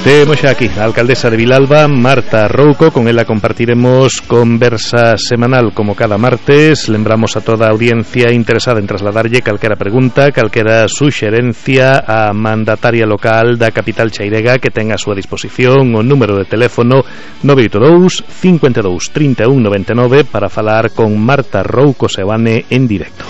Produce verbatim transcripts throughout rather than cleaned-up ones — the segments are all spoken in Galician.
Temos xa aquí a alcaldesa de Vilalba, Marta Rouco. Con ela compartiremos conversa semanal como cada martes. Lembramos a toda a audiencia interesada en trasladarlle calquera pregunta, calquera suxerencia a mandataria local da capital chairega, que ten a súa disposición o número de teléfono nove oito dous, cinco dous, tres un nove nove para falar con Marta Rouco Seoane en directo.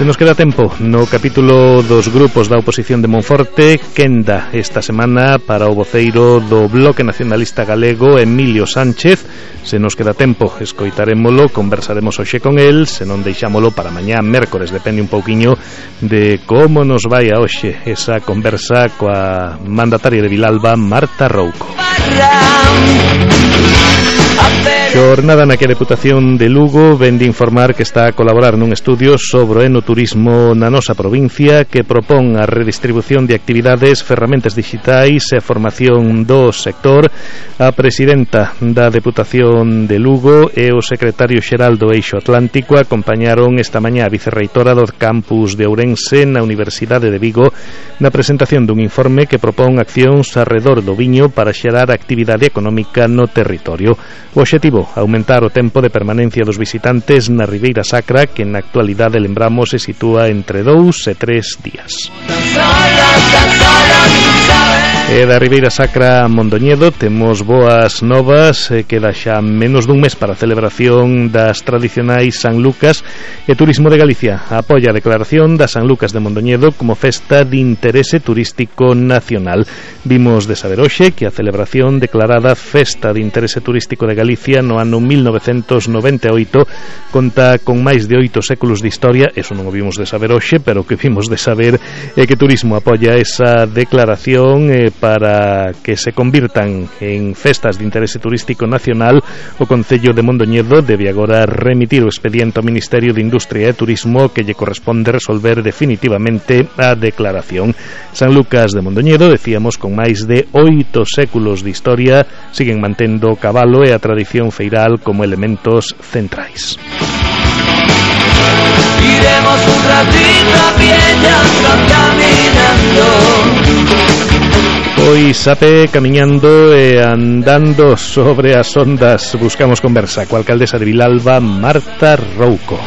Se nos queda tempo no capítulo dos grupos da oposición de Monforte. Quenda esta semana para o voceiro do Bloque Nacionalista Galego, Emilio Sánchez. Se nos queda tempo, escoitarémolo, conversaremos hoxe con el. Se non deixámolo para mañá, mércores, depende un pouquiño de como nos vai a hoxe esa conversa coa mandataria de Vilalba, Marta Rouco. Xornada na que a Deputación de Lugo ven de informar que está a colaborar nun estudio sobre o enoturismo na nosa provincia, que propón a redistribución de actividades, ferramentas digitais e a formación do sector. A presidenta da Deputación de Lugo e o secretario xeral do Eixo Atlántico acompañaron esta mañá a vicerreitora do campus de Ourense na Universidade de Vigo na presentación dun informe que propón accións arredor do viño para xerar actividade económica no territorio. O obxectivo, aumentar o tempo de permanencia dos visitantes na Ribeira Sacra, que na actualidade, lembramos, se sitúa entre dous e tres días. E da Ribeira Sacra a Mondoñedo temos boas novas. eh, Queda xa menos dun mes para a celebración das tradicionais San Lucas, e Turismo de Galicia apoia a declaración da San Lucas de Mondoñedo como festa de interese turístico nacional. Vimos de saber hoxe que a celebración declarada Festa de Interese Turístico de Galicia no ano mil novecentos noventa e oito conta con máis de oito séculos de historia. Eso non o vimos de saber hoxe, pero que vimos de saber é que Turismo apoia esa declaración eh, para que se convirtan en festas de interese turístico nacional. O Concello de Mondoñedo debe agora remitir o expediente ao Ministerio de Industria e Turismo, que lle corresponde resolver definitivamente a declaración. San Lucas de Mondoñedo, decíamos, con máis de oito séculos de historia, siguen mantendo o cabalo e a tradición feiral como elementos centrais. Iremos un ratito a pie caminando. Pois sape camiñando e andando sobre as ondas. Buscamos conversa coa alcaldesa de Vilalba, Marta Rouco.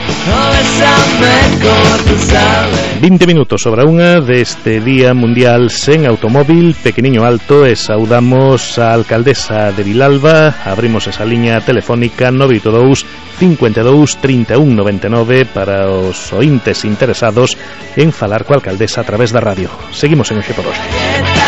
vinte minutos sobre a unha deste Día Mundial sen automóvil, pequeniño alto, e saudamos a alcaldesa de Vilalba. Abrimos esa liña telefónica nove oito dous, cinco dous, tres un nove nove para os ointes interesados en falar coa alcaldesa a través da radio. Seguimos en Oxe por Oxe.